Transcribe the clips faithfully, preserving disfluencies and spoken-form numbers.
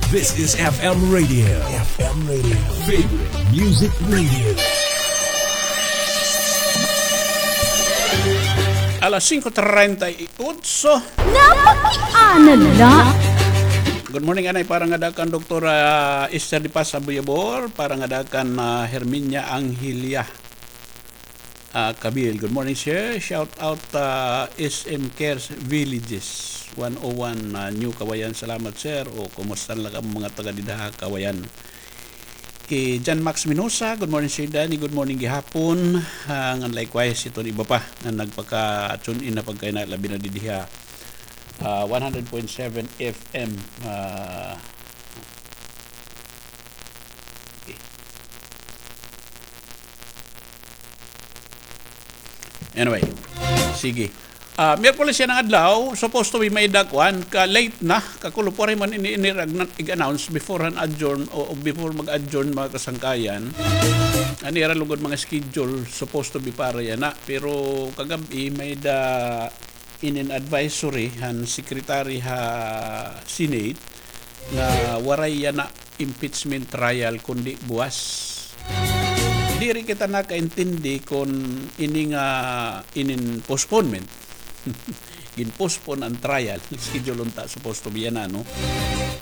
This is F M Radio. F M Radio. Favorite Music Radio. Alas singko treinta y ocho. Napakiana la. Good morning, anay, para ngada kan Doktora Esther de Paz Abuyabor, para ngada kan, ah, Herminia Angelia. Ah, Kabil, good morning, sir. Shout out, ah, S M Cares Villages, one oh one, ah, New Kawayan. Salamat, sir. O, kumusta la kamo mga taga dida ha Kawayan? Hi John Max Minosa, good morning, Sir Danny. Good morning gihapon. Ah, ngan likewise, iton iba pa nga nagpaka-tune in na pagkaina, labi na didi ha, ah, one hundred point seven F M. Ah, okay. Anyway, sige. Ah, Miyerkules yana nga adlaw, supposed to be may-ada kuan, ka late na, kakulop, waray man ini, ini ig-announce before han adjourn o, o before mag-adjourn, mga kasangkayan. An ira lugod mga schedule, supposed to be para yana. Pero kagab-i, may-ada inin advisory han secretary ha Senate nga waray yana impeachment trial kundi buwas. Diri kita nakaintindi kon ini nga inin postponement. Gin-postpone an trial. Schedule unta supposed to be yana, no?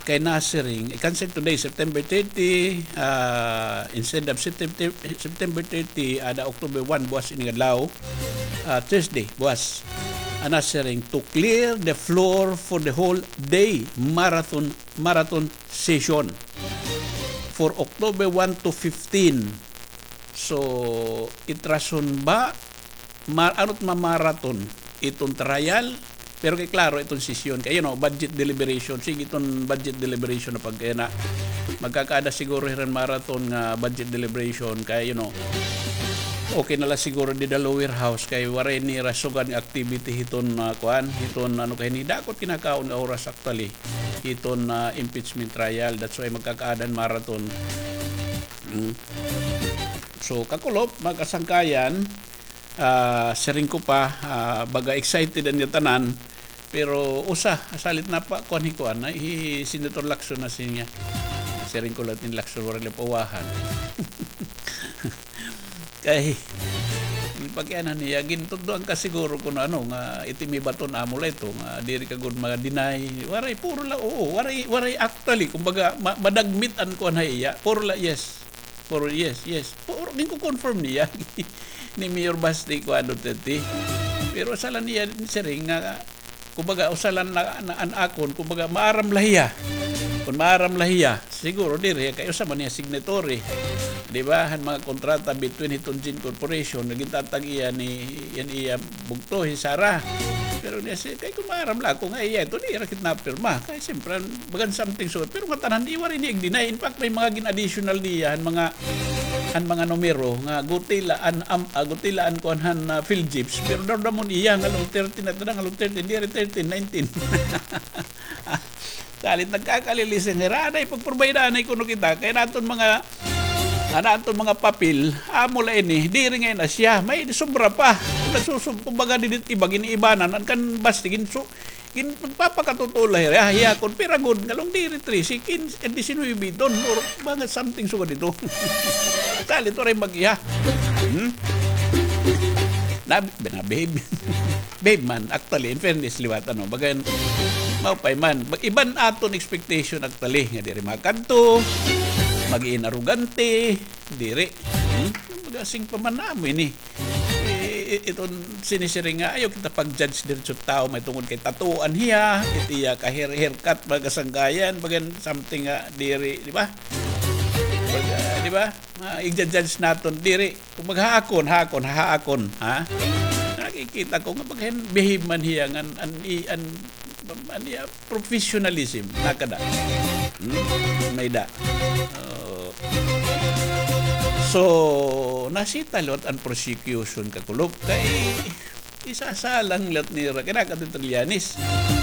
Kay nasiring, i-cancel today, September thirty, ah, instead of September, September thirty, ada October one, buwas ini nga adlaw, ah, Thursday, buwas. An nasiring, to clear the floor for the whole day marathon, marathon session for October one to fifteen. So, it rason ba, ma-, ano it ma-marathon iton trial? Pero kay klaro iton sesyon, kay, you know, budget deliberation. Sige iton budget deliberation na pagkaya na. Magkakaada siguro hiran marathon nga budget deliberation, kay, you know, okay na la siguro dida lower house, kay waray nira sugad nga activity hiton, ah, kuan, hiton, ano, kay hini dako it kinakaon nga oras actually. Hiton, ah, impeachment trial. That's why magkakaada hin marathon. Mm. So, kakulop, mga kasangkayan, ah, siring ko pa, ah, baga excited an ngatanan, pero usa, salit na pa, kuan hi kuan, hi Senator Lacson na siya. Siring ko la hin Lacson, waray la pauwahan. Kay, pakiana niya, gintutdoan ka siguro kon ano, nga iti may baton amo la ito, nga diri ka gud ma-deny. Waray, puro la, oo, waray, waray actually, kumbaga, ma-, madagmit an kuan ha iya. Puro la, yes. Puro, yes, yes. Puro, ginko-confirm niya. Ni Mayor Basti, kuan, Duterte. Pero sala niya, siring nga, kumbaga, usa la na, na, an akon, kumbaga, maaram la hiya. Kon maaram la hiya, siguro diri, kay usa man hiya signatory. Di ba? Han mga kontrata between hiton Gin Corporation, nga gintatag-iya ni, yan iya bugto, hi Sara. Pero niya, si, kay kon maaram la ako nga iya, ito, di ra kit napirma. Kay siyempre, bagan something so, pero ngatanan, di waray niya ig-deny. In fact, may mga gin-additional niya, han mga an mga numero nga gutilaan, am, ah, gutilaan kuan han, ah, PhilGEPS, pero daw damon iya nga low thirteen, at nga low thirteen, diri thirteen, nineteen. Salit nagkakalilisin, hira anay pagpurbayda anay kuno kita, kay naton mga, an aton mga papel, amo la ini, diri ngay-an na siya, may sobra pa. Nagsusub-, kumbaga, didit iba, giniibanan, an kan Basti, ginsu-, Gin-, magpapakatotoo la hira, ah, hiya kon pira gud, ngalong diri trese, kinse, eh, disinuybe iton, or mga something sugad ito. Salit waray mag-iya. Hmm? Na, na, behave. Behave man, actually, in fairness, liwat, ano, bagan, maupay man. Mag-, iban aton expectation, actually, nga diri makadto, mag-iin arogante, diri. Hmm? Baga, sing pa man namo ini. I-, i-, iton sinisiring nga, ayaw kita pag-judge diretso tawo, may tungod kay tatuan hiya, it iya ka hair-, haircut, mga kasangkayan, bagan something nga diri, di ba? Baga, di ba? Ah, i-judge naton diri. Kumbaga, ha akon, ha akon, ha akon, ha? Nakikita ko nga paghen behave man hiya ngan an, i-, an, an iya professionalism, nakada. Hmm? May-ada. Oo. So, nasita liwat an prosecution, kakulop, kay isasalang liwat nira, kay nakada Trillanes.